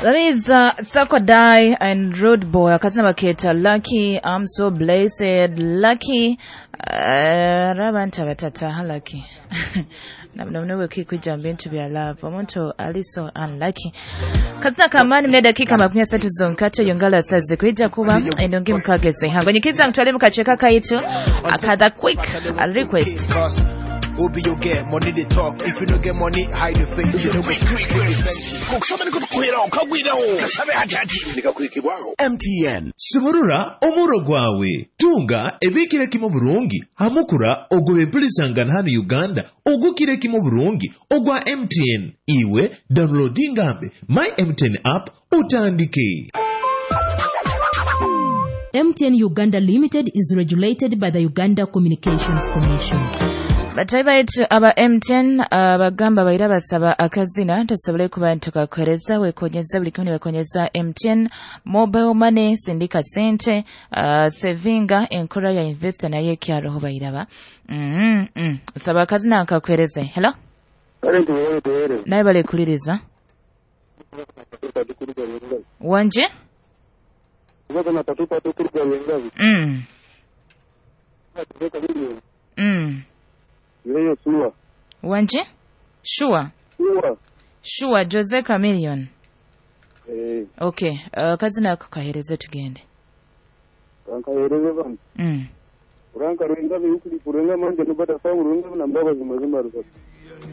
That is Sakodai and Road Boy. Akazina baketa Lucky. I'm so blessed. Lucky. Abantu abatataha Lucky. Nabona kwijja mu bintu bya love. Omuntu ali so unlucky. Kazina kamani mne dakika 30 zonkato yongala saze kwijja kuba endongi mukageze. Hangonyikiza ntwale mukacheka kaitu akadha quick a request. Who be you get money they talk. If you don't get money, hide your face. You don't MTN. Sumurura omuro gwawe tunga ebikire kimu burungi hamukura ogwe empulisangana hano Uganda ogukire kimu burungi ogwa MTN. Iwe downloadingambe my MTN app utandike. MTN Uganda Limited is regulated by the Uganda Communications Commission. Batayi baitu aba MTN bagamba baira basaba akazina tusobole kuba ntukakuhereza wekonyeza buli kimu nibakonyeza MTN mobile money, sindika sente, sevinga enkora ya investor naye ekyaroho bairaba. Saba akazina nkakuhereze. Hello, naye balekuliriza wanje. Wanje sure. Sure, Jose Chameleon. Okay, kazina ako kahereze tugende. Kankahereze bana. Uranka ruinga biyukuri kurenga manje nubata sawu ruinga na mbabazi mazima rusatu.